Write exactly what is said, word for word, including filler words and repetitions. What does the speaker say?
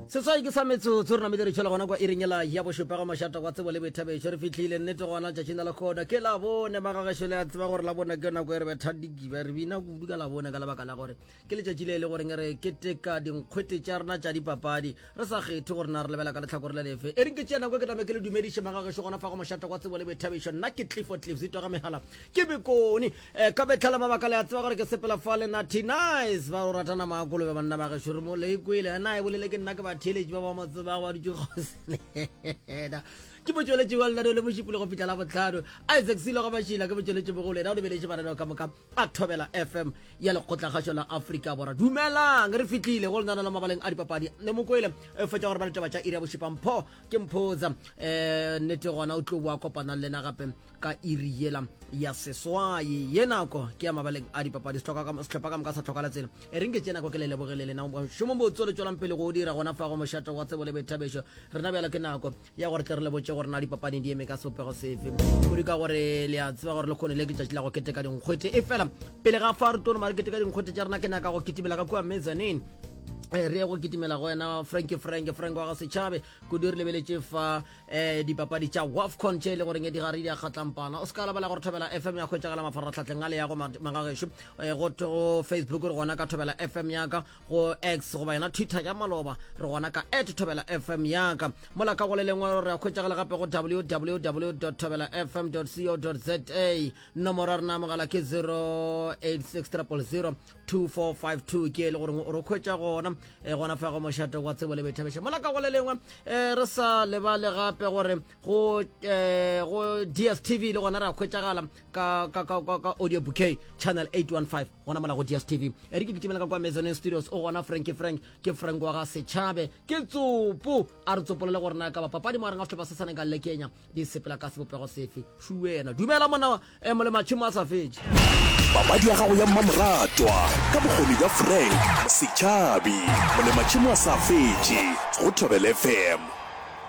Seswai ke sa metsotso re namile re tšhela gona kwa iring yela ya bošupa ga mošata wa tsebo le boithabišo. Re fihlile nnete gona tšatšing la lekhono ke Labone. Magagešo le a tseba gore Labone ke nako e re betha dikiba, re bina kudu ka Labone ka lebaka la gore ke letšatši le e le goreng re keteka dinkgwete tša rena tša dipapadi re sa kgethe gore na re lebela ka lehlakore le lefe. E reng ke tšea nako e ke tame ke le dumediše magagešo gona fa go mošata wa tsebo le boithabišo. Nna ke Clifford Cliffs itwa ga megala ke Bekone. Eh, ka mehla le mabaka le a tseba gore ke sepela fa le Natty Nice ba go ratana maakolobe banna ba gešo re mo le ikwele na e bolele ke nna ke batheeletši ba ba mo tsebago ba dutše kgauswi le yena. Ke motšweletši wa lenaneo le mošupologo go fihla la bohlano. Isaac Silo ga Mašila ke motšweletši mogolo yena o lebeletše mananeo ka moka a Thobela F M ya Lekgotlakgašo la Afrika Borwa. Dumelang, re fihlile go lenaneo la mabaleng a dipapadi. Ne mo kwele e fetša gore ba ditaba tša iri ya bošupa. Mpho ke Mphoza eh nnete gona o tlo boa kopana le lena gape ka iri yela ya seswai. Ye nako ke ya mabaleng a dipapadi, sehlopha ka, sehlopha ka moka sa tlhokala tsela. E reng ke tše nako ke le lebogele lena mošomo botse le tšwelang pele go o dira gona fa go mošate wa tsebo le boithabišo. Rena bjalo ke nako ya gore tle re le botše gore na dipapadi di eme ka sebopego sefe, kudu ka gore le a tseba gore lekgono le ke tšatši la go keteka dinkgwete. E fela pele ga fa re tlo no mare keteka dinkgwete tša rena, ke nyaka go kitimela ka kua mezzanine. Eh, re ye go kitimela go wena Frankie, Frank, Frank wa ga Setšhabe kudu. Re lebeletše fa eh, dipapadi tša WAFCON tše e le goreng di gare di a kgatlampana. O se ka lebala gore Thobela F M ya hwetšagala mafaratlhatlheng a le yago magagešo. Eh, go, go Facebook re gona ka Thobela F M yaka, go X goba yona Twitter ya maloba re gona ka at Thobela F M yaka. Mola ka go le lengwe re a hwetšagala gape go w w w dot thobela f m dot co dot z a. Nomoro ya rena ya mogala ke zero eight six triple zero two four five two, ke e le gore o re hwetša gona, eh, gona fa go mošate wa tsebo le boithabišo. Mola ka go le lengwe, eh, re sa lebale gape gore go, eh, go D S T V le gona re a hwetšagala ka, ka, ka, ka, ka audio bouquet channel eight one five gona mola go D S T V. E re ke kitimela ka kwa Mezzanine Studios, o gona Frankie Frank, ke Frank wa ga Setšhabe, ke tsopo a re tsopolele gore na ka ba papadi mo gare ga sehlopha sa Senegal le Kenya di sepela ka sebopego sefe. Šuwena dumela monna, eh, molematšhemo a sa fetše. Papadi ya gago ya mmamoratwa ka bokgoni bja Frank Setšhabi, molematšhemo a sa fetše go Thobela F M.